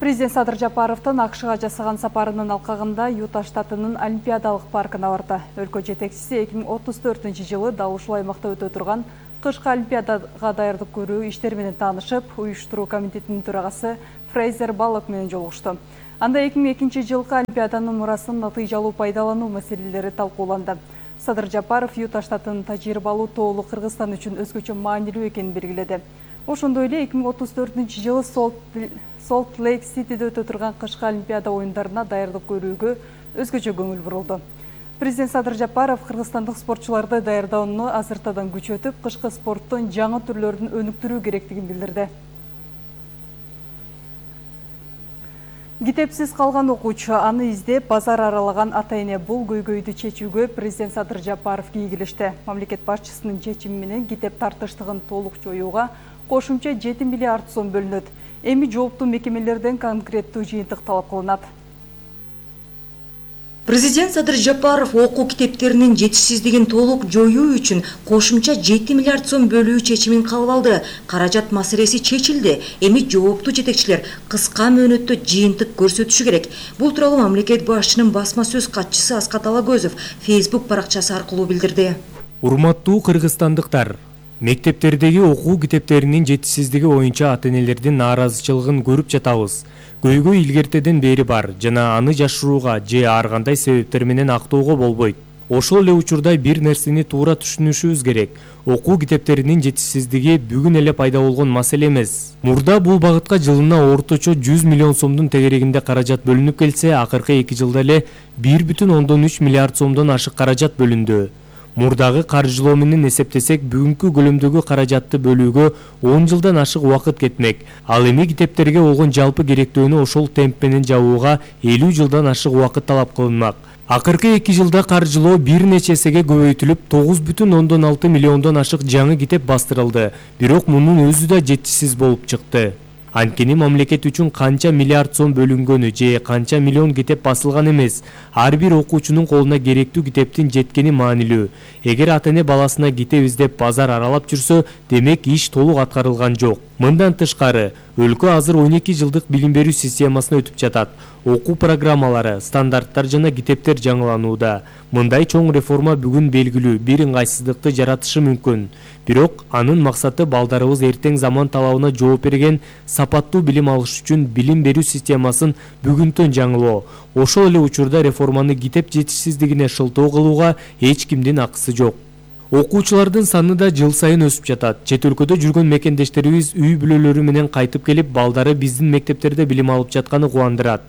Президент Садыр Жапаровдун АКШга жасаган сапарынын алкагында Юта штатынын Олимпиадалык паркына барды. Өлкө жетекчиси 2034-жылы дал ушул аймакта өтө турган кышкы Олимпиадага даярдык көрүү иштери менен таанышып, уюштуруу комитетинин төрагасы Фрейзер Баллок менен жолугушту. Анда 2002-жылкы Олимпиаданын мурасын натыйжалуу пайдалануу маселелери талкууланды. Садыр Жапаров Юта штатынын тажрыйбалуу тоолу Кыргызстан үчүн өзгөчө маанилүү экенин белгиледи. Ошондой эле 2034-жылы Солт Лейк Ситиде өтө турган кышкы Олимпиада оюндарына даярдык көрүүгө өзгөчө көңүл бурулду. Президент Садыр Жапаров кыргызстандык спортчуларды даярдоону азыртадан күчөтүп, кышкы спорттун жаңы түрлөрүн өнүктүрүү керектигин билдирди. Китепсиз калган окуучу, аны издеп базар аралаган ата-эне бул көйгөйдү чечүүгө президент Садыр Жапаров кийгилешти. Мамлекет башчысынын чечими менен китеп тартыштыгын толук жоюуга кошумча 7 миллиард сом бөлүнөт. Эми жооптуу мекемелерден конкреттүү жыйынтык талап кылынат. Президент Садыр Жапаров окуу китептеринин жетишсиздигин толук жоюу үчүн кошумча 7 миллиард сом бөлүү чечимин кабыл алды. Каражат маселеси чечилди. Эми жооптуу жетекчилер кыска мөөнөттө жыйынтык көрсөтүшү керек. Бул тууралуу мамлекет башчынын басма сөз катчысы Аскат Алагөзов Facebook баракчасы аркылуу билдирди. Урматтуу кыргызстандыктар, мектептердеги окуу китептеринин жетишсиздиги боюнча ата-энелердин нааразычылыгын көрүп жатабыз. Көйгөй илгертеден бери бар жана аны жашырууга же ар кандай себептер менен актоого болбойт. Ошол эле учурда бир нерсени туура түшүнүшүбүз керек. Окуу китептеринин жетишсиздиги бүгүн эле пайда болгон маселе эмес. Мурда бул багытка жылына орточо 100 миллион сомдун тегерегинде каражат бөлүнүп келсе, акыркы 2 жылда эле 1,3 миллиард сомдон ашык каражат бөлүндү. Мурдагы каржылоо менен эсептесек, бүгүнкү көлөмдөгү каражатты бөлүүгө 10 жылдан ашык убакыт кетмек. Ал эми китептерге болгон жалпы керектөөнү ошол темп менен жабууга 50 жылдан ашык убакыт талап кылынмак. Акыркы 2 жылда каржылоо бир нече эсеге көбөйтүлүп, 9,6 миллиондон ашык жаңы китеп бастырылды. Бирок мунун өзү да жетишсиз болуп чыкты. Анткени мамлекет үчүн канча миллиард сом бөлүнгөнү же канча миллион китеп басылган эмес. Ар бир окуучунун колуна керектүү китептин жеткени маанилүү. Эгер ата-эне баласына китеп издеп базар аралап жүрсө, демек иш толук аткарылган жок. Мындан тышкары, өлкө азыр 12 жылдык билим берүү системасына өтүп жатат. Окуу программалары, стандарттар жана китептер жаңыланууда. Мындай чоң реформа бүгүн белгилүү бир ыңгайсыздыкты жаратышы мүмкүн. Бирок анын максаты балдарыбыз эртең заман талабына жооп берген сапаттуу билим алыш үчүн билим берүү системасын бүгүнтөн жаңылоо. Ошол эле учурда реформаны китеп жетишсиздигине шылтоо кылууга эч кимдин акысы жок. Окуучулардын саны да жыл сайын өсүп жатат. Чет өлкөдө жүргөн мекендештерибиз үй бүлөлөрү менен кайтып келип, балдары биздин мектептерде билим алып жатканы кубандырат.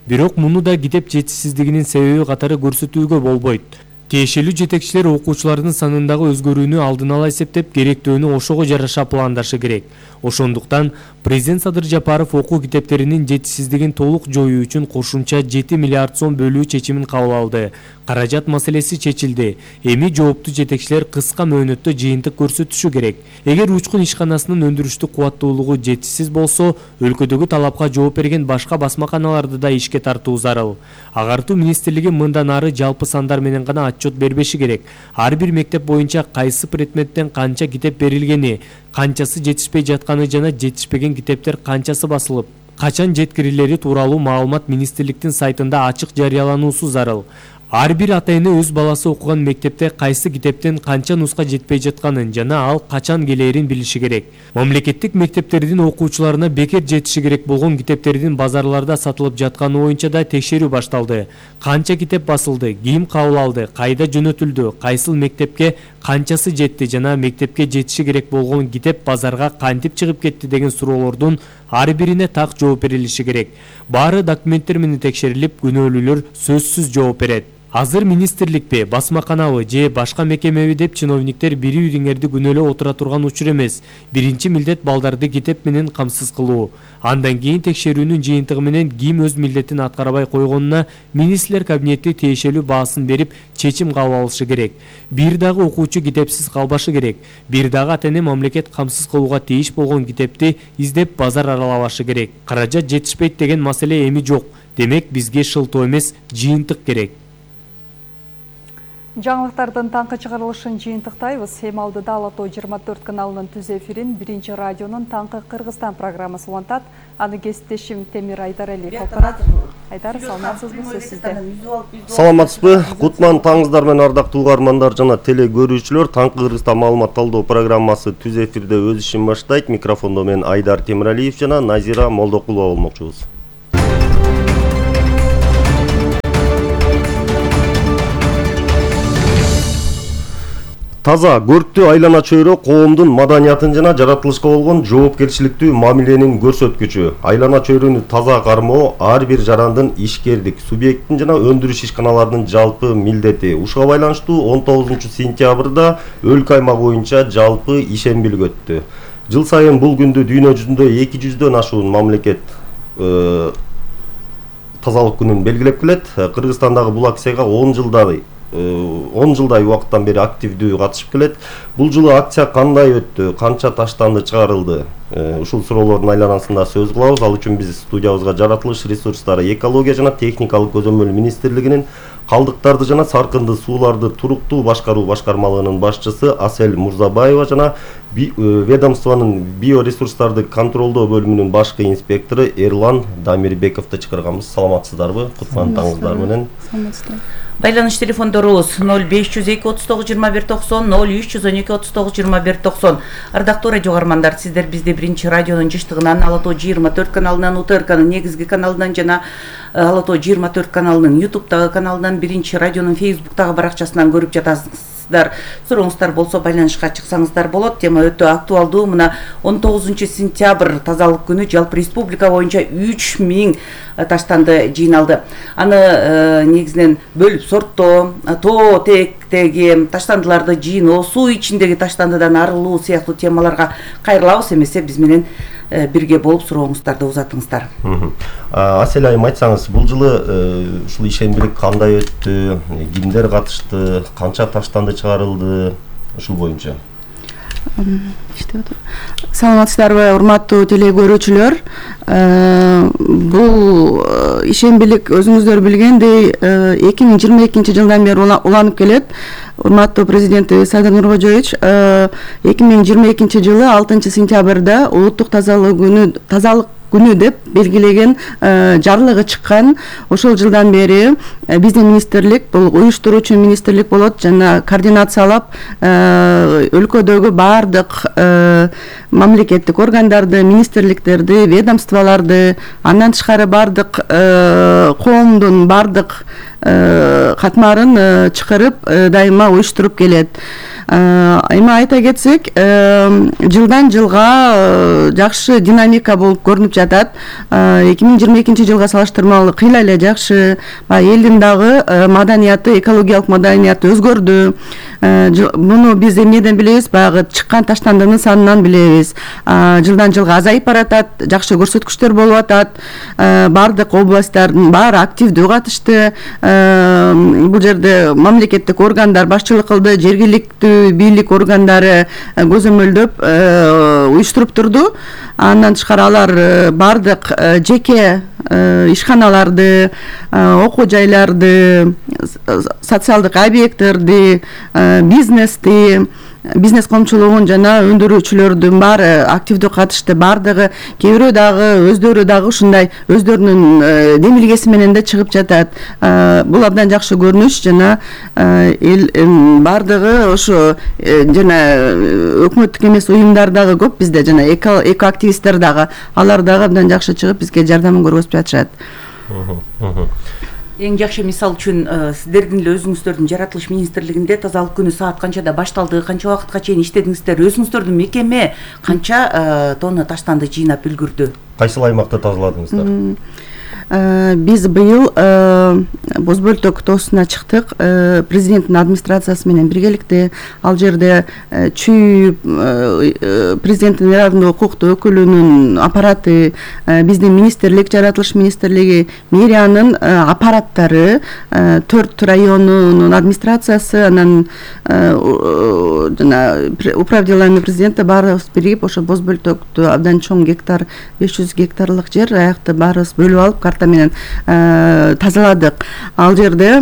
Бирок муну да китеп жетишсиздигинин себеби катары көрсөтүүгө болбойт. Тиешелүү жетекчилер окуучулардын санындагы өзгөрүүнү алдын ала эсептеп, керектөөнү ошого жараша пландашы керек. Ошондуктан президент Садыр Жапаров окуу китептеринин жетишсиздигин толук жоюу үчүн кошумча 7 миллиард сом бөлүү чечимин кабыл алды. Каражат маселеси чечилди. Эми жооптуу жетекчилер кыска мөөнөттө жыйынтык көрсөтүшү керек. Эгер учкун ишканасынын өндүрүштүк кубаттуулугу жетишсиз болсо, өлкөдөгү талапка жооп берген башка басмаканаларды да ишке тартуу зарыл. Агартуу министрлиги мындан ары жалпы сандар менен гана отчет бербеши керек. Ар бир мектеп боюнча кайсы предметтен канча китеп берилгени, канчасы жетишпей жатканы жана жетишпеген китептер канчасы басылып, качан жеткирилери тууралуу маалымат министрликтин сайтында ачык жарыялануусу зарыл. Ар бир ата-эне өз баласы окуган мектепте кайсы китептен канча нуска жетпей жатканын жана ал качан келээрин билиши керек. Мамлекеттик мектептердин окуучуларына бекер жетиши керек болгон китептердин базарларда сатылып жатканы боюнча да текшерүү башталды. Канча китеп басылды, ким кабыл алды, кайда жөнөтүлдү, кайсыл мектепке канчасы жетти жана мектепке жетиши керек болгон китеп базарга кантип чыгып кетти деген суроолордун ар бирине так жооп берилиши керек. Баары документтер менен текшерилип, күнөөлүүлөр сөзсүз жооп берет. Азыр министрликпи, басмаканабы же башка мекемеби деп чиновниктер бири-бириңерди күнөөлөп отура турган учур эмес. Биринчи милдет балдарды китеп менен камсыз кылуу. Андан кийин текшерүүнүн жыйынтыгы менен ким өз милдетин аткарбай койгонуна министрлер кабинети тиешелүү баасын берип, чечим кабыл алышы керек. Бир дагы окуучу китепсиз калбашы керек. Бир дагы ата-эне мамлекет камсыз кылууга тийиш болгон китепти издеп базар аралабашы керек. Каражат жетишпейт деген маселе эми жок. Демек бизге шылтоо эмес, жыйынтык керек. Жаңылыктардын таңкы чыгарылышын жыйынтыктайбыз. Эми алдыда Ала Тоо 24 каналынын түз эфирин биринчи радионун таңкы Кыргызстан программасы улантат. Аны кесиптешим Темир Айдаралиев алып. Айдар, саламатсызбы, сөз сизде. Саламатсызбы? Кутман таңыңыздар менен ардактуу угармандар жана теле көрүүчүлөр. Таңкы Кыргызстан маалымат талдоо программасы түз эфирде өз ишин баштайт. Микрофондо мен Айдар Темиралиев жана Назира Молдокулова болмокчубуз. Таза, көрктүү айлана чөйрө коомдун маданиятын жана жаратылышка болгон жоопкерчиликтүү мамиленин көрсөткүчү. Айлана чөйрөнү таза кармоо ар бир жарандын ишкердик, субъекттин жана өндүрүш ишканаларынын жалпы милдети. Ушуга байланыштуу 19-сентябрда өлкө аймак боюнча жалпы ишембилик өттү. Жыл сайын бул күндү дүйнө жүзүндө 200дөн ашуун мамлекет тазалык күнүн белгилеп келет. Кыргызстандагы бул акцияга 10 жылдай убакыттан бери активдүү катышып келет. Бул жылы акция кандай өттү, канча таштанды чыгарылды? Ушул суроолордун айланасында сөз кылабыз. Ал үчүн биз студиябызга жаратылыш ресурстары, экология жана техникалык көзөмөл министрлигинин калдыктарды жана саркынды сууларды туруктуу башкаруу башкармалыгынын башчысы Асель Мурзабаева жана ведомствонун биоресурстарды контролдоо бөлүмүнүн башкы инспектору Эрлан Дамирбековду чакырганбыз. Саламатсыздарбы? Кутман таңыңыздар менен. Байланыш телефондорубуз 0502 39 21 90, 0312 39 21 90. Ардактуу радио угармандар, сиздер бизди биринчи радионун жыштыгынан, Ала Тоо 24 каналынан, УТРКнын негизги каналынан жана Ала Тоо 24 каналынын YouTube'дагы каналынан, биринчи радионун Facebook'тагы баракчасынан көрүп жатасыздар. Сурооңуздар болсо байланышка чыксаңыздар болот. Тема өтө актуалдуу. Мына 19-сентябрь тазалык күнү жалпы республика боюнча 3000 таштанды жыйналды. Аны негизинен бөлүп сорттоо, тоо тээктеги таштандыларды жыйноо, суу ичиндеги таштандыдан арылуу сыяктуу темаларга кайрылабыз. Эмесе биз менен бирге болуп сурооңуздарды узатыңыздар. Асель айым, айтсаңыз, бул жылы ушул ишембилик кандай өттү, кимдер катышты, канча таштанды чыгарылды, ушул боюнча? Саламатсыздарбы, урматтуу теле көрүүчүлөр. Бул ишембилик өзүңүздөр билгендей 2022 жылдан бери уланып келет. Урматтуу президенти Садыр Нуркожоевич 2022 жылы 6 сентябрда улуттук тазалык күнү деп белгилеген жарлыгы чыккан. Ошол жылдан бери биздин министрлик, бул уюштуруучу министрлик болот, жана координациялап өлкөдөгү баардык мамлекеттик органдарды, министрликтерди, ведомстволорду, андан тышкары баардык коомдун баардык катмарын чакырып дайыма уюштуруп келет. Эми айта кетсек, жылдан жылга жакшы динамика болуп көрүнүп жатат. 2022 жылга салыштырмалуу кыйла эле жакшы. Элдин дагы маданияты, экологиялык маданияты өзгөрдү. Муну биз эмнеден билебиз? Баягы чыккан таштандынын санынан билебиз. Жылдан жылга азайып баратат, жакшы көрсөткүчтөр болуп атат. Баардык областтардын баары активдүү катышты. Бул жерде мамлекеттик органдар башчылык кылды, жергиликтүү бийлик органдары көзөмөлдөп уюштуруп турду. Андан тышкары алар баардык жеке ишканаларды, окуу жайларды, социалдык объекттерди, бизнести, бизнес коомчулугун жана өндүрүүчүлөрдүн баары активдүү катышты. Баардыгы, кээ бирөө дагы өздөрү дагы ушундай өздөрүнүн демилгеси менен да чыгып жатат. Бул абдан жакшы көрүнүш жана эл баардыгы ошо жана өкмөттүк эмес уюмдар дагы көп бизде, жана эко активисттер дагы, алар дагы абдан жакшы чыгып бизге жардамын көргөзүп жатышат. Эң жакшы мисал үчүн сиздердин эле өзүңүздөрдүн жаратылыш министрлигинде тазалык күнү саат канчада башталды, канча убакытка чейин иштедиңиздер, өзүңүздөрдүн мекеме канча тонна таштанды жыйнап үлгүрдү? Кайсыл аймакта тазаладыңыздар? Биз быйыл Боз бөлтөк тоосуна чыктык, президенттин администрациясы менен биргеликте. Ал жерде чүй президенттин ырайымдуу укуктуу өкүлүнүн аппараты, биздин министрлик, жаратылыш министрлиги, мэриянын аппараттары, 4 районунун администрациясы, анан жана управделение президента баарыбыз биригип ошо Боз бөлтөктү абдан чоң гектар, 500 гектарлык жер аякты баарыбыз бөлүп алып карта менен тазаладык. Ал жерде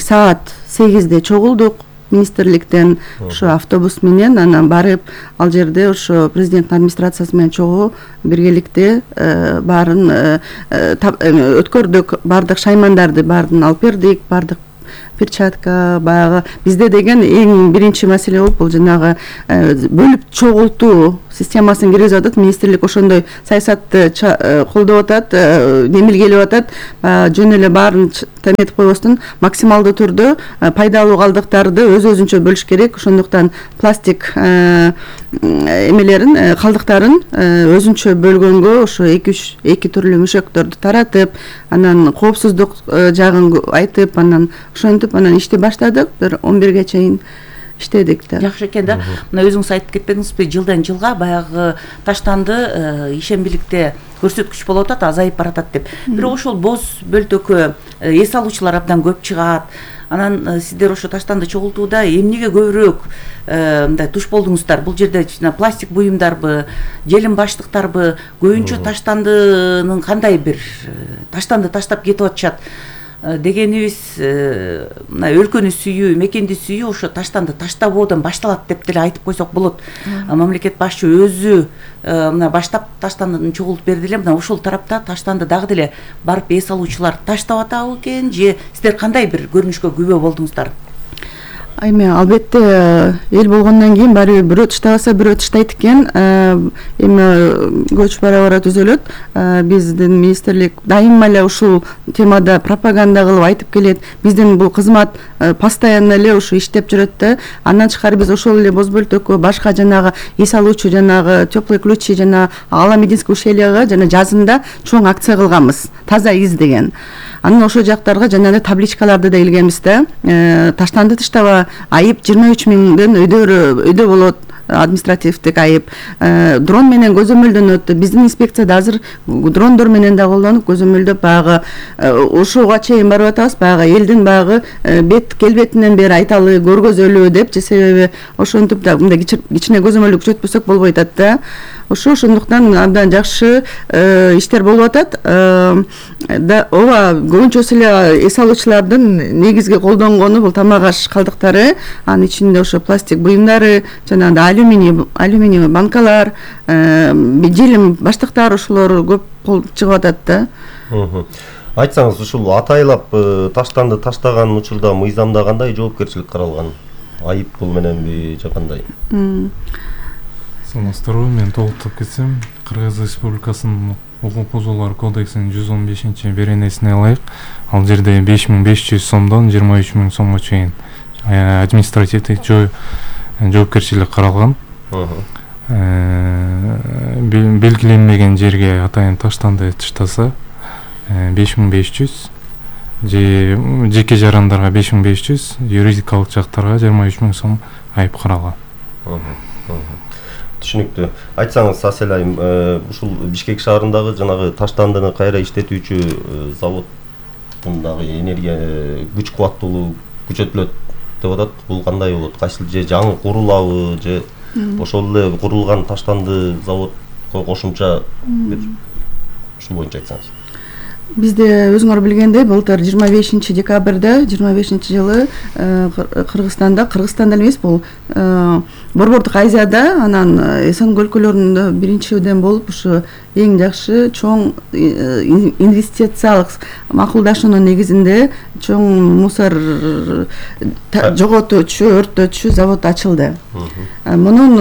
саат 8-де чогулдук министрликтен ошо автобус менен, анан барып ал жерде ошо президенттин администрациясы менен чогуу биргеликте баарын өткөрдүк, баардык шаймандарды баарын алып бердик, баардык перчатка, баягы бизде деген эң биринчи маселе болуп, бул жанагы бөлүп чогултуу системасын киргизип атат. Министрлик ошондой саясатты колдоп атат, демилгелеп атат. Жөн эле баарын теметип койбостон максималдуу түрдө пайдалуу калдыктарды өзүнчө бөлүш керек. Ошондуктан пластик эмелерин, калдыктарын өзүнчө бөлгөнгө ошо 2 түрлүү мөшөктөрдү таратып, анан коопсуздук жагын айтып, анан ошентип анан ишти баштадык. Бир 11-ге чейин иштедик да. Жакшы экен да. Мына өзүңүз айтып кетпедиңизби, жылдан жылга баягы таштанды ишембиликте көрсөткүч болуп атат, азайып баратат деп. Бирок ошол боз бөлтөккө эс алуучулар абдан көп чыгат. Анан сиздер ошо таштанды чогултууда эмнеге көбүрөөк мындай туш болдуңуздар? Бул жерде пластик буюмдарбы, желим баштыктарбы, көбүнчө таштандынын кандай бир таштанды таштап кетип атышат дегенибиз, мына өлкөнү сүйүү, мекенди сүйүү ошо таштанды таштабоодон башталат деп деле айтып койсок болот. Мамлекет башчы өзү мына баштап таштандыны чогултуп берди эле. Мына ошол тарапта таштанды дагы деле барып эс алуучулар таштап атабы экен, же сиздер кандай бир көрүнүшкө күбө болдуңуздар? Эми албетте эл болгондон кийин баары бирөө таштабаса бирөө таштайт экен. Эми көч бара түзөлөт. Биздин министрлик дайыма эле ушул темада пропаганда кылып айтып келет. Биздин бул кызмат постоянно эле ушу иштеп жүрөт да. Андан тышкары биз ошол эле боз бөлтөккө, башка жанагы эс алуучу, жанагы теплые ключи, жана ала медицинский ущельяга жана жазында чоң акция кылганбыз. Таза из деген. Анан ошол жактарга жанагы табличкаларды да илгенбиз да. Таштанды таштаба, айып 23 миңден өйдө болот, административдик айып. Дрон менен көзөмөлдөнөт. Биздин инспекцияда азыр дрондор менен да колдонуп көзөмөлдөп багы ошого чейин барып атабыз. Багы элдин багы бет келбетинен бери айталы көргөзөлүү деп, же себеби ошентип да мындай кичине көзөмөлдү күчөтпөсөк болбой атат да. Ошондуктан абдан жакшы иштер болуп атат. Ооба, көбүнчөсү эле эс алуучулардын негизги колдонгону бул тамак аш калдыктары, анын ичинде ошо пластик буюмдары, жана алюминий банкалар, желим баштыктар, ошолор көп чыгып атат да. Айтсаңыз, ушул атайлап таштанды таштаган учурда мыйзамда кандай жоопкерчилик каралган? Айып бул мененби же кандай? Саламатсыздарбы, мен толуктап кетсем, Кыргыз Республикасынын укук бузуулар кодексинин 115-беренесине ылайык, ал жерде 5500 сомдон 23 000 сомго чейин административдик жоопкерчилик каралган. Белгиленмеген жерге атайын таштанды таштаса 5500, же жеке жарандарга 5500, юридикалык жактарга 23 000 сом айып каралган. Түшүнүктүү. Айтсаңыз, Асель айым, ушул Бишкек шаарындагы жанагы таштандыны кайра иштетүүчү заводундагы энергия күч кубаттуулугу күчөтүлөт деп атат. Бул кандай болот? Кайсыл же жаңы курулабы, же ошол эле курулган таштанды заводко кошумча бир ушул боюнча айтсаңыз. Бизде өзүңөр билгендей, былтыр 25 декабрда 25 жылы Кыргызстанда эмес, бул Борбордук Азияда, анан Эсен өлкөлөрүндө биринчиден болуп ушу эң жакшы чоң инвестициялык макулдашуунун негизинде чоң мусор жоготуучу, өрттөчү завод ачылды. Мунун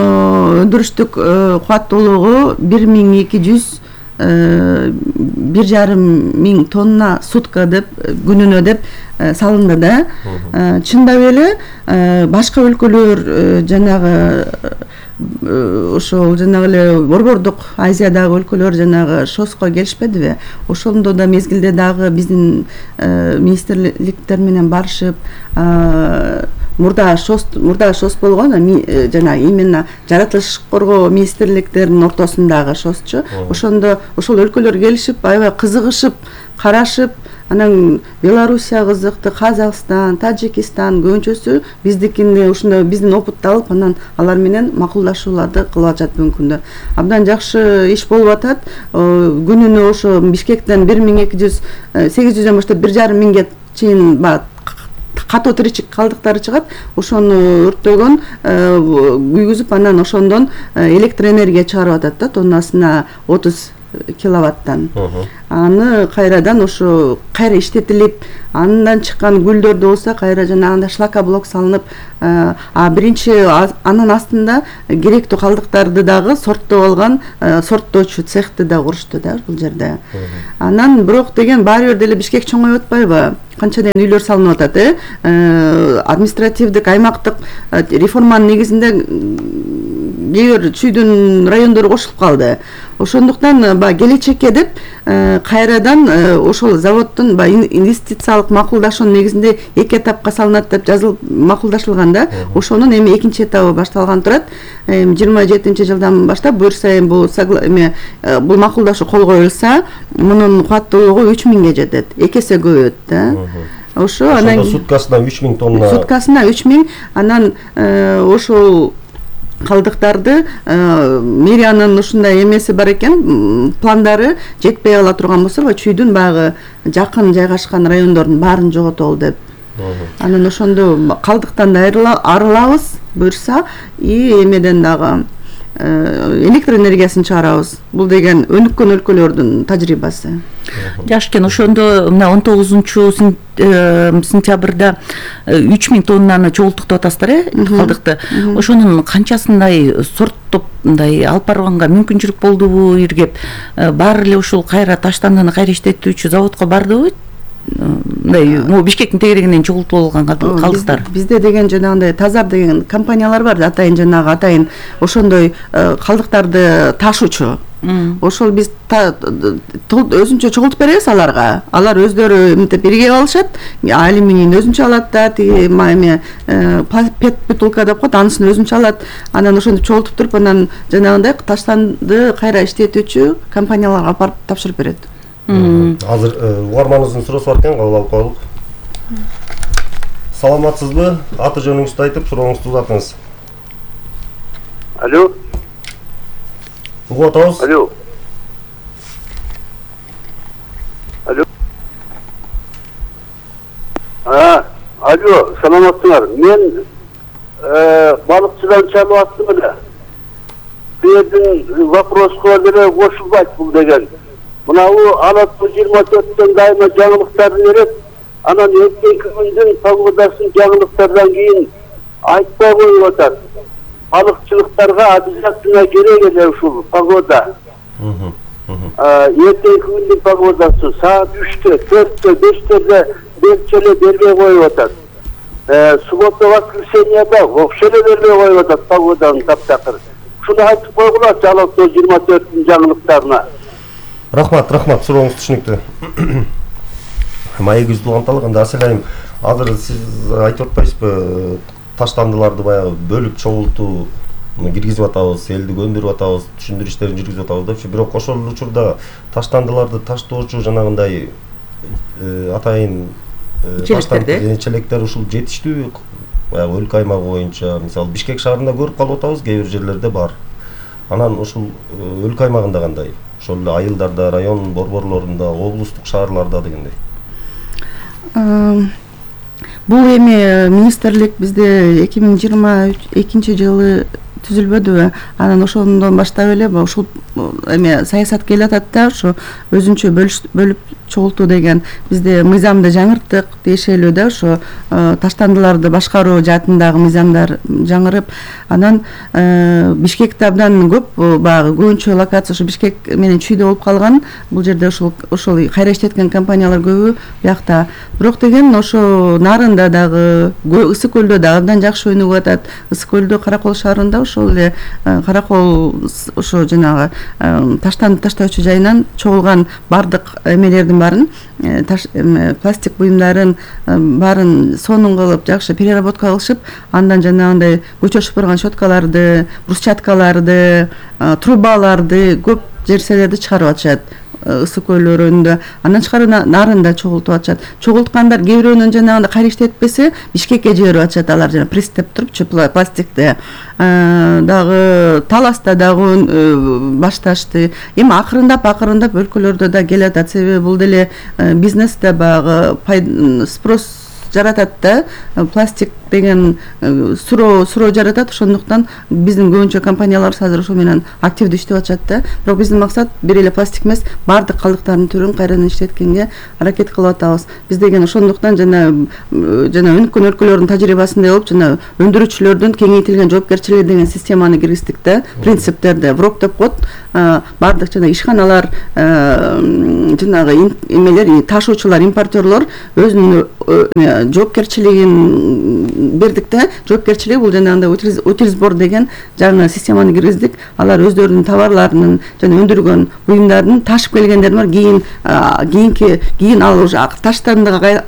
өндүрүштүк кубаттуулугу 1200 1,5 миң тонна сутка деп, күнүнө деп салынды да. Чындап эле башка өлкөлөр жанагы ошол жанагы эле Борбордук Азиядагы өлкөлөр жанагы ШОСко келишпедиби? Ошондо да мезгилде дагы биздин министрликтер менен барышып, мурда ШОС болгон, жана именно жаратылыш коргоо министрликтеринин ортосундагы ШОСчу. Ошондо ошол өлкөлөр келишип, аябай кызыгышып, карашып, анан Белоруссия кызыктуу, Казакстан, Тажикстан көбүнчөсү биздикинде ушундай биздин опытты алып, анан алар менен макулдашууларды кылып атышат бүгүнкү күндө. Абдан жакшы иш болуп атат. Күнүнө ошо Бишкектен 1200-800дөн баштап 1,5 чейин катуу тиричик калдыктары чыгат. Ошону өрттөгөн, күйгүзүп, анан ошондон электр энергия чыгарып атат да, тоннасына 30 киловаттан. Аны кайрадан ошо кайра иштетилип, андан чыккан гүлдөрдө болсо кайра жанагындай шлакоблок салынып, биринчи анын астында керектүү калдыктарды дагы сорттоп алган сорттоочу цехти да курушту да бул жерде. Анан бирок деген баары бир деле Бишкек чоңоюп атпайбы? Канча деген үйлөр салынып атат, административдик аймактык реформанын негизинде кээ бир чүйдүн райондору кошулуп калды. Ошондуктан келечекке деп кайрадан ошол заводдун инвестициялык макулдашуунун негизинде 2 этапка салынат деп жазылып макулдашылган да. Ошонун эми экинчи этабы башталган турат. 27-жылдан баштап буюрса бул макулдашуу кол коюлса, мунун кубаттуулугу 3000ге жетет. 2 эсе көбөйөт да. Ошо анан суткасына 3000 тонна. Суткасына 3000, анан ошол калдыктарды мэриянын ушундай эмеси бар экен, пландары жетпей ала турган болсо, чүйдүн багы жакын жайгашкан райондордун баарын жоготолу деп. Анан ошондо калдыктан да арылабыз буюрса, эмеден дагы электр энергиясын чыгарабыз. Бул деген өнүккөн өлкөлөрдүн тажрыйбасы. Жакшы экен. Ошондо мына 19-сентябрда 3000 тоннаны чогултуктап атасыздар, калдыкты. Ошонун канчасындай сорттоп мындай алып барганга мүмкүнчүлүк болдубу, иргеп баары эле ушул кайра таштандыны кайра иштетүүчү заводко бардыбы? Мындай Бишкектин тегерегинен чогултуп алган калдыктар. Бизде деген жанагындай Тазар деген компаниялар бар, атайын ошондой калдыктарды ташуучу. Ошол биз өзүнчө чогултуп беребиз аларга. Алар өздөрү мынтип иргеп алышат, алюминийин өзүнчө алат да, тиги пет бутылка деп коет, анысын өзүнчө алат. Анан ошентип чогултуп туруп, анан жанагындай таштанды кайра иштетүүчү компанияларга алып барып тапшырып берет. Азыр угарманыбыздын суроосу бар экен, кабыл алып коелук. Саламатсызбы? Аты жөнүңүздү айтып, сурооңузду узатыңыз. Алло. Угуп атабыз. Алло. Алло. Алло, саламатсыңар. Мен балыкчыдан чалып аттым эле. Бердин вопроско деле кошулбайт бул деген. Мынау Алатуу 24-төн дайыма жаңылыктарды берет. Анан эртеңки күндүн погодасын жаңылыктардан кийин айтпай коюп атат. Балыкчылыктарга обязательно керек эле ушул погода. Эртеңки күндүн погодасы саат 3-тө, 4-тө, 5-терде берчеле бербей коюп атат. Суббота, воскресеньеда вообще эле бербей коюп атат погоданын таптакыр. Шуну айтып койгулачы Алатуу 24-түн жаңылыктарына. Рахмат, сурооңуз түшүнүктүү. Маегибизди уланталык, анда Аселайым, азыр сиз айтып атпайсызбы, таштандыларды баягы бөлүп чогултуу киргизип атабыз, элди көндүрүп атабыз, түшүндүрүү иштерин жүргүзүп атабыз депчи. Бирок ошол учурда таштандыларды таштоочу жанагындай атайын челектер ушул жетиштүү, баягы өлкө аймагы боюнча, мисалы Бишкек шаарында көрүп калып атабыз, кээ бир жерлерде бар. Анан ушул өлкө аймагында кандай? Ошол эле айылдарда, район борборлорунда, облустук шаарларда дегендей. Бул эми министрлик бизде 2022-жылы түзүлбөдүбү? Анан ошондон баштап эле ушул эми саясат келе атат да, ошо өзүнчө бөлүп чогултуу деген. Бизде мыйзамды жаңырттык дешелүү да, ошо таштандыларды башкаруу жаатындагы мыйзамдар жаңырып, анан Бишкекте абдан көп, баягы көбүнчө локация ошо Бишкек менен чүйдө болуп калган. Бул жерде ошол кайра иштеткен компаниялар көбү биякта. Бирок деген ошо нарында дагы, Ысык көлдө дагы абдан жакшы өнүгүп атат. Ысык көлдө Каракол шаарында ошол эле Каракол ошо жанагы таштанды таштоочу жайынан чогулган бардык эмелердин баарын, пластик буюмдарын баарын сонун кылып, жакшы переработка кылышып, андан жанагындай көчө шыпырган щеткаларды, брусчаткаларды, трубаларды, көп нерселерди чыгарып атышат. ысык көл өрөөнүндө, андан тышкары нарында чогултуп атышат. Чогулткандар кээ бирөөнүн жанагындай кайра иштетпесе бишкекке жиберип атышат, алар жана пресс деп турупчу пластикти. Дагы Таласта дагы башташты. Эми акырындап өлкөлөрдө да келатат, себеби бул деле бизнесте баягы спрос жаратат да, пластик деген суроо жаратат, ошондуктан биздин көбүнчө компанияларыбыз азыр ошо менен активдүү иштеп атышат да. Бирок биздин максат бир эле пластик эмес, баардык калдыктардын түрүн кайрадан иштеткенге аракет кылып атабыз. Биз деген ошондуктан жана өнүккөн өлкөлөрдүн тажрыйбасындай болуп, жана өндүрүүчүлөрдүн кеңейтилген жоопкерчилиги деген системаны киргиздик да, принциптерди. ВРОК деп коет, баардык жана ишканалар, жанагы эмелер, ташуучулар, импортерлор өзүнүн жоопкерчилигин бердик да. Жоопкерчилик бул жанагындай утилизбор деген жаңы системаны киргиздик. Алар өздөрүнүн товарларынын жана өндүргөн буюмдарын ташып келгендер бар, кийин ал уже таштандыга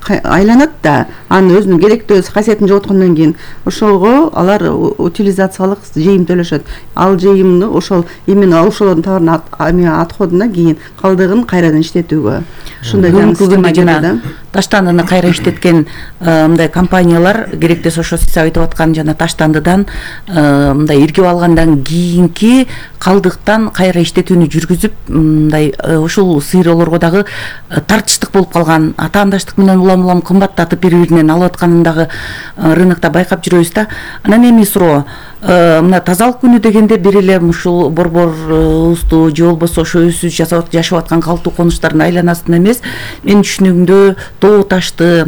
айланат да, анын өзүнүн керектүү касиетин жоготкондон кийин ошого алар утилизациялык жыйым төлөшөт. Ал жыйымды ошол именно ошолордун товарынын отходуна кийин калдыгын кайрадан иштетүүгө ушундай система жана таштандыны кайра иштеткен мындай компаниялар керектесе ошо сиз айтып аткан жана таштандыдан мындай иргип алгандан кийинки калдыктан кайра иштетүүнү жүргүзүп, мындай ушул сыйроолорго дагы тартыштык болуп калган, атаандаштык менен улам кымбаттатып бири-биринен алып атканын дагы рынокто байкап жүрөбүз да. Анан эми суроо, мына тазалык күнү дегенде бир эле ушул борборубузду же болбосо ошо өзүбүз жашап аткан калктуу конуштардын айланасында эмес, менин түшүнүгүмдө тоо ташты,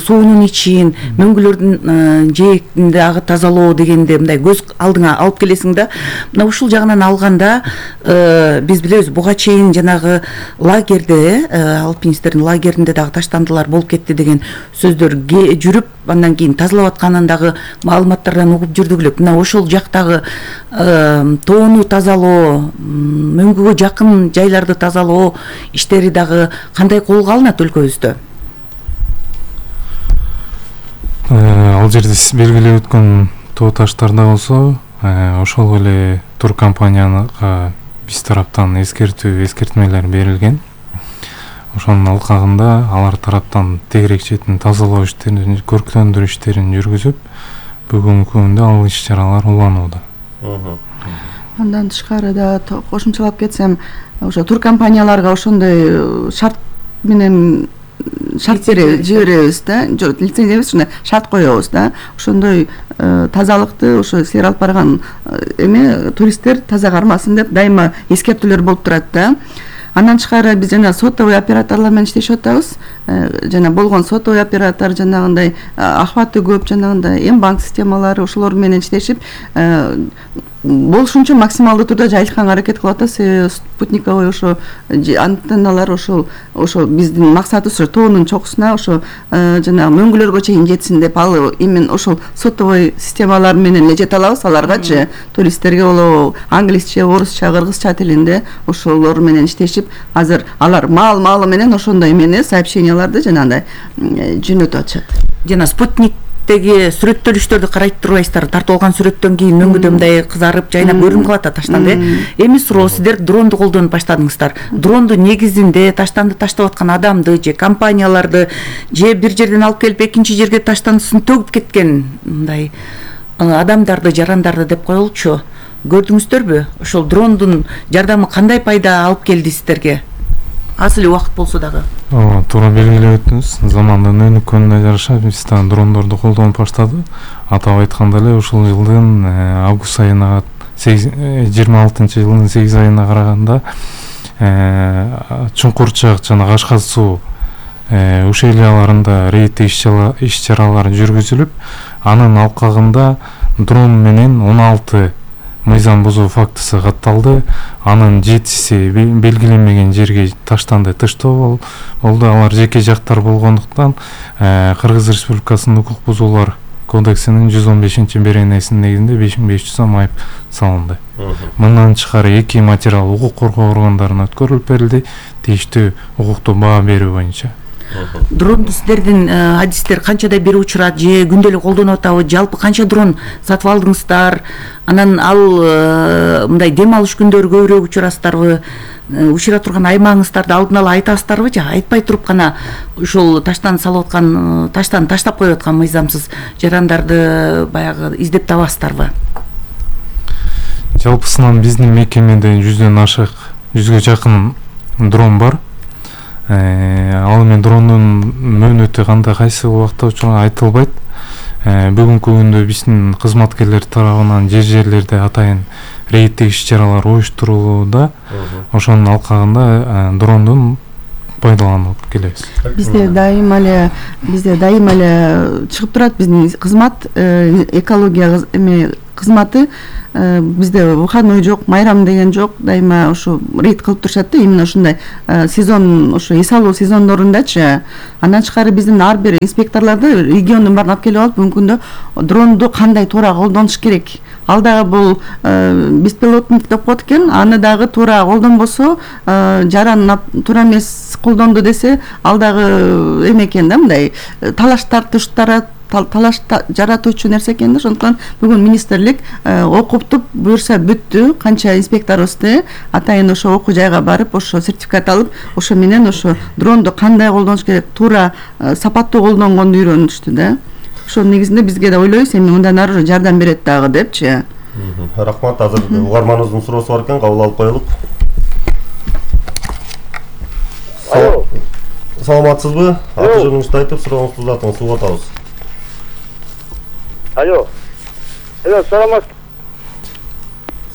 суунун ичин, мөңгүлөрдүн жээкинде дагы тазалоо дегенде мындай көз алдыңа алып келесиң да. Мына ушул жагынан алганда биз билебиз, буга чейин жанагы лагерде, алпинисттердин лагеринде дагы таштандылар болуп кетти деген сөздөр жүрүп, андан кийин тазалап атканын дагы маалыматтардан угуп жүрдүк элек. Мына ошол жактагы тоону тазалоо, мөңгүгө жакын жайларды тазалоо иштери дагы кандай колго алынат өлкөбүздө? Ал жерде сиз белгилеп өткөн тоо таштарда болсо, ошол эле туркомпанияга биз тараптан эскертмелер берилген. Ошонун алкагында алар тараптан тегерек четин тазалоо иштерин, көрктөндүрүү иштерин жүргүзүп, бүгүнкү күндө ал иш-чаралар уланууда. Андан тышкары да кошумчалап кетсем, ошо туркомпанияларга ошондой шарт менен жиберебиз да, лицензия эмес, ушундай шарт коебуз да. Ошондой тазалыкты ошо силер алып барган туристтер таза кармасын деп дайыма эскертүүлөр болуп турат да. Андан тышкары биз жана сотовый операторлор менен иштешип атабыз. Жана болгон сотовый оператор жанагындай охваты көп, жанагындай банк системалары ошолор менен иштешип болушунча максималдуу түрдө жайылтканга аракет кылып атабыз. Себеби спутниковый ошо антенналар ошол биздин максатыбыз ошо тоонун чокусуна ошо жана мөңгүлөргө чейин жетсин деп, ал именно ошол сотовый системалар менен эле жете алабыз аларгачы. Туристтерге болобу англисче, орусча, кыргызча тилинде ошолор менен иштешип, азыр алар маал менен ошондой эмени сообщенияларды жанагындай жөнөтүп атышат. Жана спутниктеги сүрөттөлүштөрдү карайт турбайсыздар, тартып алган сүрөттөн кийин мөңгүдө мындай кызарып, жайнап көрүнүп калат да таштанды. Эми суроо, сиздер дронду колдонуп баштадыңыздар. Дронду негизинде таштанды таштап аткан адамды же компанияларды же бир жерден алып келип экинчи жерге таштандысын төгүп кеткен мындай адамдарды, жарандарды деп коелучу. Көрдүңүздөрбү? Ошол дрондун жардамы кандай пайда алып келди сиздерге? Аз эле убакыт болсо дагы. Туура белгилеп өттүңүз. Замандын өнүккөнүнө жараша биз да дрондорду колдонуп баштадык. Атап айтканда эле ушул жылдын август айына 26-жылдын 8 айына караганда Чуңкурчак жана Кашкар суу ушейлияларында рейд иш-чаралар жүргүзүлүп, анын алкагында дрон менен 16 мыйзам бузуу фактысы катталды. Анын 7-си белгиленмеген жерге таштанды тыштоо болду. Алар жеке жактар болгондуктан Кыргыз Республикасынын укук бузуулар кодексинин 115-беренесинин негизинде 5500 сом айып салынды. Мындан тышкары 2 материал укук коргоо органдарына өткөрүлүп берилди, тийиштүү укуктуу баа берүү боюнча. Дронду сиздердин адистер канчадай бери учурат, же күндө эле колдонуп атабы, жалпы канча дрон сатып алдыңыздар? Анан ал мындай дем алыш күндөрү көбүрөөк учурасыздарбы? учура турган аймагыңыздарды алдын ала айтасыздарбы же айтпай туруп гана ушул таштан салып аткан таштан таштап коюп аткан мыйзамсыз жарандарды баягы издеп табасыздарбы? Жалпысынан биздин мекемеде 100 жакын дрон бар. Ал эми дрондун мөөнөтү кандай кайсы убакта учурга айтылбайт. Бүгүнкү күндө биздин кызматкерлер тарабынан жерлерде атайын рейдтик иш-чаралар уюштурулууда. Ошонун алкагында дрондун пайдаланып келебиз. Бизде дайыма эле чыгып турат биздин кызмат, экология кызматы. Бизде выходной жок, майрам деген жок, дайыма ошо рейд кылып турушат да, именно ушундай сезон, ошо эс алуу сезондорундачы. Андан тышкары биздин ар бир инспекторларды региондун баарын алып келип алып, мүмкүн күндө дронду кандай туура колдонуш керек. Ал дагы бул беспилотник деп коет экен, аны дагы туура колдонбосо, жаран туура эмес колдонду десе, ал дагы эме экен да, мындай талаш жаратуучу нерсе экен да. Ошондуктан бүгүн министрлик окуптуп буюрса бүттү, канча инспекторубузду атайын ошо окуу жайга барып, ошо сертификат алып, ошо менен ошо дронду кандай колдонуш керек, туура сапаттуу колдонгонду үйрөнүштү да. Ошонун негизинде бизге да ойлойбуз, эми мындан ары жардам берет дагы депчи. Рахмат, азыр угарманыбыздын суроосу бар экен, кабыл алып коелук. Саламатсызбы? Аты жөнүңүздү айтып, сурооңузду узатыңыз, угуп атабыз. Алло,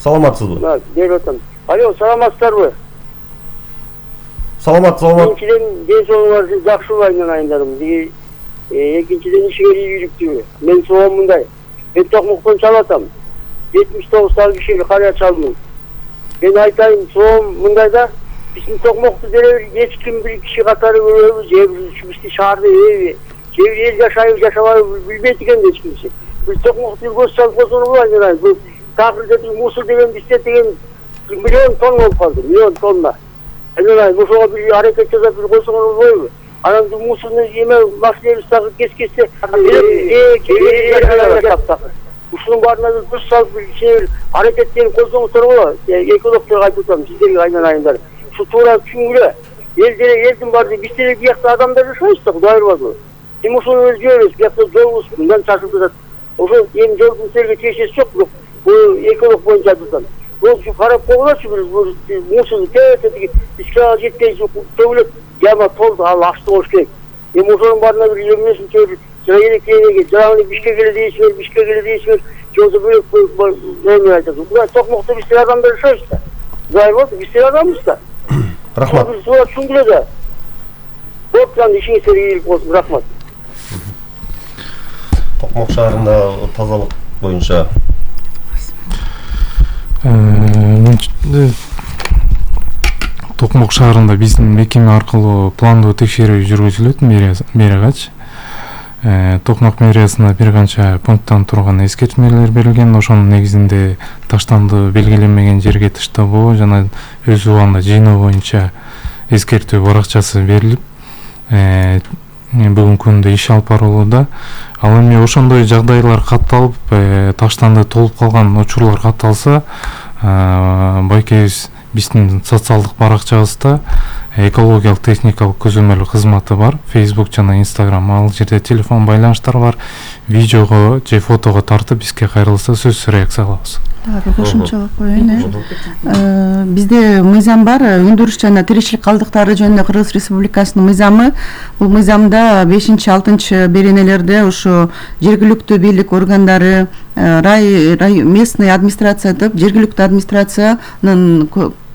Саламатсызбы? Алло, саламатсыздарбы? Саламат. Экинчиден, ден соолугуңар жакшыбы айынан айындарым? Экинчиден ишиңер ийгиликтүүбү? Мен суроом мындай. Мен Токмоктон чалатам. 79 сал кишиге карыя чалдым. Мен айтайын, суроом мындай да, биздин Токмокту деле эч ким бир киши катары көрөбүз, же биздин шаарда же бир эл жашайбы, жашабайбы билбейт экен эч кимси. Biz Tokmok'ta göster pozunu var yani. Bu Takır'daki Musul degen, Bistet degen milyon ton olup kaldı. Milyon tonla. Yani bu soğa bir hareket yazıp bir koysun onu koyuyor. Anam bu Musul'un yeme maskeyi takıp kes-kesse Musul'un barına bir kuş salıp bir şey hareketlerini koysun sonra ekologlara kayıtıyorum. Sizleri aynen. Şu tuğra çünkü Yeldin vardı. Bistet'e bir yakta adamlar yaşayıştı. Bu da ayrı vardı. Musul'un özgürüz. Bir yakta zor olsun. Bundan çarşıda Ошо эми жолдун серге тиешеси жок, бирок бул эколог боюнча айтылган. Бул карап койгулачы бир мусул тетиги ишке жетпей төгүлөт, жама толду, ал ачты болуш керек. Эми ошонун баарына бир эмнесин чөбүп, жаранекеге, жараны бишке дейсиңер, жолду бөлөк эме айтат. Буга Токмокто биздин адамдар жашайбыз да. Зайыр болду, биздин адамбыз да. Рахмат. Сура түшүндүрө да. Боптан ишиңиз ийгилик болсун, рахмат. Токмок шаарында тазалык боюнча Токмок шаарында биздин мекеме аркылуу пландуу текшерүү жүргүзүлөт мэриягач. Токмок мэриясына бир канча пункттан турган эскертмелер берилген. Ошонун негизинде таштанды белгиленмеген жерге таштабоо жана өз убагында жыйноо боюнча эскертүү баракчасы берилип, бүгүнкү күндө иш алып барылууда. Ал эми ошондой жагдайлар катталып, таштанды толуп калган учурлар катталса, байкебиз биздин социалдык баракчабызда экологиялык техникалык көзөмөл кызматы бар, Facebook жана Instagram. Ал жерде телефон байланыштар бар, видеого же фотого тартып бизге кайрылса сөзсүз реакция алабыз. Кошумчалап коеюн. Бизде мыйзам бар, өндүрүш жана тиричилик калдыктары жөнүндө Кыргыз Республикасынын мыйзамы. Бул мыйзамда 5-6 беренелерде ошо жергиликтүү бийлик органдары, местный администрация деп жергиликтүү администрациянын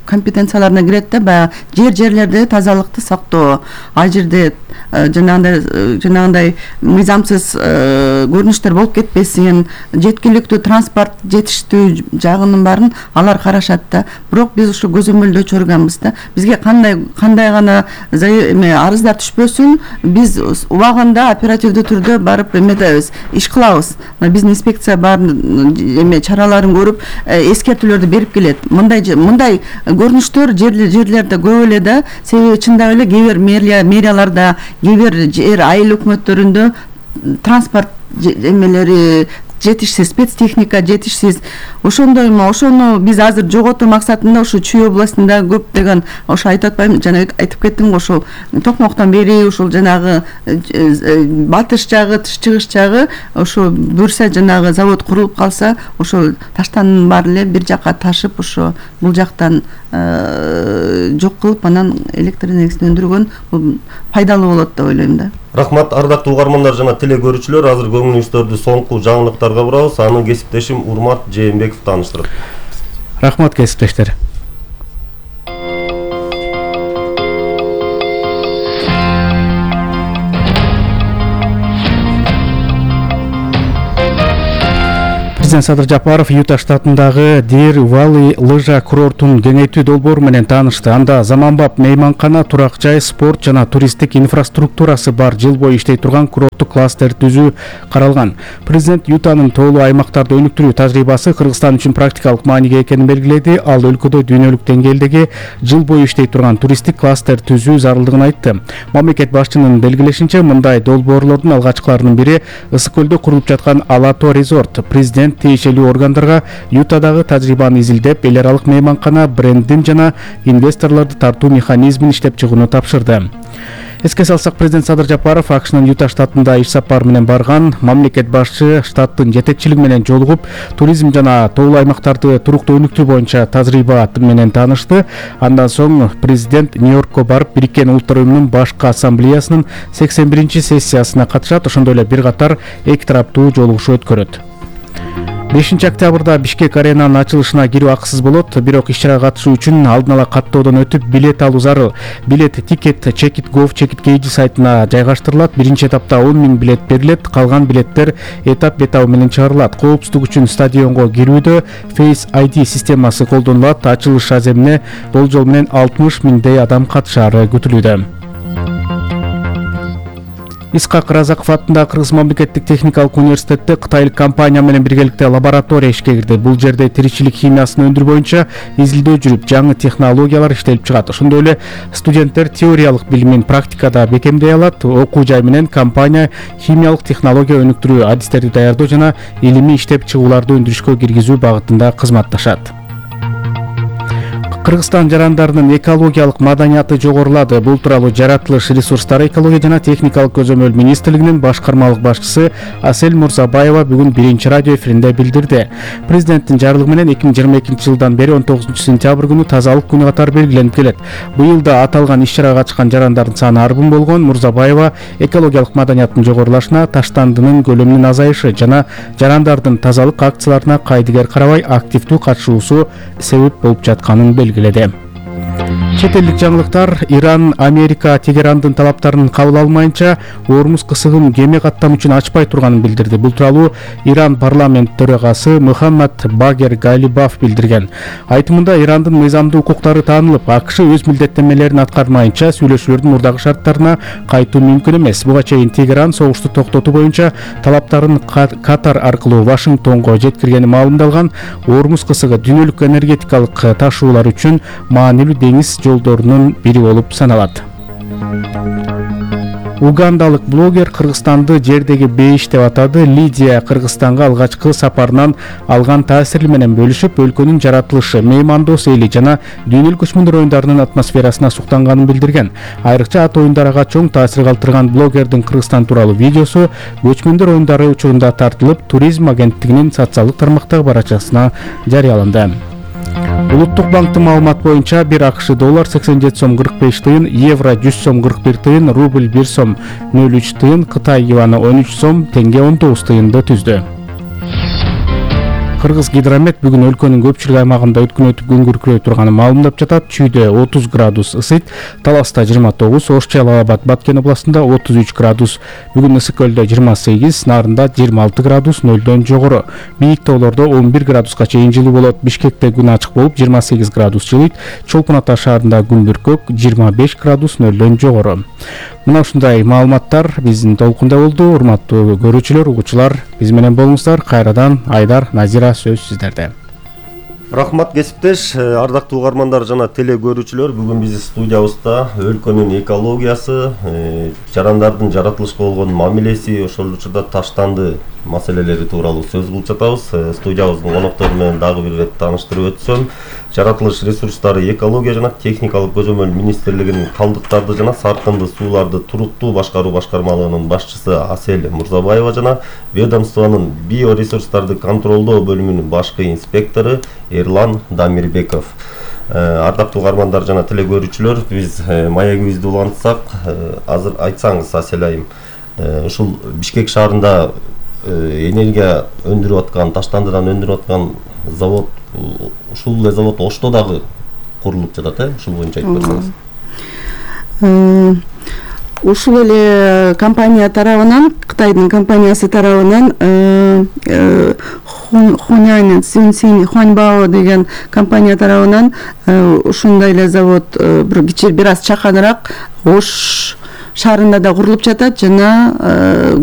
компетенцияларына кирет да, баягы жерлерде тазалыкты сактоо. Ал жерде жанагындай мыйзамсыз көрүнүштөр болуп кетпесин, жеткиликтүү транспорт жетиштүү жагынын баарын алар карашат да. Бирок биз ушу көзөмөлдөө чөргөнбүз да. Бизге кандай гана арыздар түшпөсүн, биз убагында оперативдүү түрдө барып эметебиз, иш кылабыз. Биздин инспекция баарын чараларын көрүп, эскертүүлөрдү берип келет. Мындай көрүнүштөр жерлерде көп эле да. Себеби чындап эле кээ бир мэрияларда, кээ бир жер айыл өкмөттөрүндө транспорт эмелери жетишсиз, спецтехника жетишсиз. Ошондоймо ошону биз азыр жоготуу максатында ушу Чүй областында көптөгөн ошо айтып атпайм, жана айтып кеттим го, ушул Токмоктон бери ушул жанагы батыш жагы, чыгыш жагы ошо буюрса жанагы завод курулуп калса, ошол таштандын баары эле бир жакка ташып, ошо бул жактан жок кылып, анан электр энергиясын өндүргөн бул пайдалуу болот деп ойлойм да. Рахмат, ардактуу угармандар жана теле көрүүчүлөр, азыр көңүлүңүздөрдү соңку жаңылыктарга бурабыз. Аны кесиптешим Урмат Жээнбеков тааныштырат. Рахмат кесиптештер. Президент Садыр Жапаров Юта штатындагы Дир Валли лыжа курортун кеңейтүү долбоору менен таанышты. Анда заманбап мейманкана, турак жай, спорт жана туристтик инфраструктурасы бар жыл бою иштей турган курорттук кластер түзүү каралган. Президент Ютанын тоолуу аймактарды өнүктүрүү тажрыйбасы Кыргызстан үчүн практикалык мааниге экенин белгиледи. Ал өлкөдө дүйнөлүк деңгээлдеги жыл бою иштей турган туристтик кластер түзүү зарылдыгын айтты. Мамлекет башчынын белгилешинче, мындай долбоорлордун алгачкыларынын бири Ысык көлдө курулуп жаткан Алато резорт. Президент тиешелүү органдарга Ютадагы тажрыйбаны изилдеп, эл аралык мейманкана брендин жана инвесторлорду тартуу механизмин иштеп чыгууну тапшырды. Эске салсак, президент Садыр Жапаров АКШнын Юта штатында иш сапары менен барган. Мамлекет башчы штаттын жетекчилиги менен жолугуп, туризм жана тоолуу аймактарды туруктуу өнүктүү боюнча тажрыйба менен таанышты. Андан соң президент Нью-Йоркко барып, Бириккен Улуттар Уюмунун башкы ассамблеясынын 81-сессиясына катышат. Ошондой эле бир катар эки тараптуу жолугушуу өткөрөт. 5 октябрда Бишкек аренанын ачылышына кирүү акысыз болот. Бирок иш-чарага катышуу үчүн алдын ала каттоодон өтүп билет алуу зарыл. Билет Ticket Checit.gov Checit.kg сайтына жайгаштырылат. Биринчи этапта 10 000 билет берилет. Калган билеттер этап бетабы менен чыгарылат. Коопсуздук үчүн стадионго кирүүдө Face ID системасы колдонулат. Ачылыш аземине болжол менен 60 000 адам катышары күтүлүүдө. Исхак Разаков атындагы Кыргыз мамлекеттик техникалык университетте кытайлык компания менен биргеликте лаборатория ишке кирди. Бул жерде тиричилик химиясын өндүрүү боюнча изилдөө жүрүп, жаңы технологиялар иштелип чыгат. Ошондой эле студенттер теориялык билимин практикада бекемдей алат. Окуу жай менен компания химиялык технология өнүктүрүү адистерди даярдоо жана илимий иштеп чыгууларды өндүрүшкө киргизүү багытында кызматташат. Кыргызстан жарандарынын экологиялык маданияты жогорулады. Бул тууралуу Жаратылыш ресурстары, экология жана техникалык көзөмөл министрлигинин башкармалык башчысы Асель Мурзабаева бүгүн биринчи радио эфиринде билдирди. Президенттин жарлыгы менен 2022 жылдан бери 19 сентябрь күнү тазалык күнү катары белгиленип келет. Быйыл да аталган иш-чарага катышкан жарандардын саны арбын болгон. Мурзабаева экологиялык маданияттын жогорулашына, таштандынын көлөмүнүн азайышы жана жарандардын тазалык акцияларына кайдыгер карабай активдүү катышуусу себеп болуп жатканын белгиледи. Чет элдик жаңылыктар. Иран Америка Тегерандын талаптарын кабыл алмайынча Ормуз кысыгын кеме каттам үчүн ачпай турганын билдирди. Бул тууралуу Иран парламент төрагасы Мухаммад Багер Галибаф билдирген. Айтымында Ирандын мыйзамдуу укуктары таанылып, АКШ өз милдеттенмелерин аткармайынча сүйлөшүүлөрдүн мурдагы шарттарына кайтуу мүмкүн эмес. Буга чейин Тегеран согушту токтотуу боюнча талаптарын Катар аркылуу Вашингтонго жеткиргени маалымдалган. Ормуз кысыгы дүйнөлүк энергетикалык ташуулар үчүн маанилүү деңиз жолдорунун бири болуп саналат. Угандалык блогер Кыргызстанды жердеги бейиш деп атады. Лидия Кыргызстанга алгачкы сапарынан алган таасири менен бөлүшүп, өлкөнүн жаратылышы, меймандос эли жана дүйнөлүк көчмөндөр оюндарынын атмосферасына суктанганын билдирген. Айрыкча ат оюндарга чоң таасир калтырган блогердин Кыргызстан тууралуу видеосу көчмөндөр оюндары учурунда тартылып, туризм агенттигинин социалдык тармактагы баракчасына жарыяланды. Улуттук банктын маалыматы боюнча 1 АКШ доллар 87 сом 45 тыйын, евро 100 сом 41 тыйын, рубль 1 сом 03 тыйын, Кытай юаны 13 сом, теңге 19 тыйынды түздү. Кыргыз гидромет бүгүн өлкөнүн көпчүлүк аймагында өткөн өтүп күн күркүрөй турганын маалымдап жатат. Чүйдө 30 градус ысыйт, Таласта 29, Ош Жалал Абад Баткен областында 33 градус. Бүгүн Ысык көлдө 28, Нарында 26 градус, нөлдөн жогору. Бийик тоолордо 11 градуска чейин жылуу болот. Бишкекте күн ачык болуп 28 градус жылыйт. Чолпон Ата шаарында күн бүркөк 25 градус, нөлдөн жогору. Мына ушундай маалыматтар биздин толкунда болду. Урматтуу көрүүчүлөр, угуучулар, биз менен болуңуздар. Кайрадан Айдар, Назира, сөз сиздерде. Рахмат кесиптеш, ардактуу угармандар жана теле көрүүчүлөр, бүгүн биздин студиябызда өлкөнүн экологиясы, жарандардын жаратылышка болгон мамилеси, ошол учурда таштанды маселелери тууралуу сөз кылып жатабыз. Студиябыздын коноктору менен дагы бир ирет тааныштырып өтсөм, жаратылыш ресурстары, экология жана техникалык көзөмөл министрлигинин калдыктарды жана саркынды сууларды туруктуу башкаруу башкармалыгынын башчысы Асель Мурзабаева жана ведомствонун биоресурстарды контролдоо бөлүмүнүн башкы инспектору Эрлан Дамирбеков. Ардактуу угармандар жана телекөрүүчүлөр, биз маегибизди улантсак, азыр айтсаңыз Асель айым, ушул Бишкек шаарында энергия өндүрүп аткан, таштандыдан өндүрүп аткан завод, ушул эле завод Ошто дагы курулуп жатат, ушул боюнча айтып берсеңиз. Ушул эле компания тарабынан, Кытайдын компаниясы тарабынан Хунянь Цзюньсинь Хуаньбао деген компания тарабынан ушундай эле завод бир аз чаканыраак Ош шаарында да курулуп жатат жана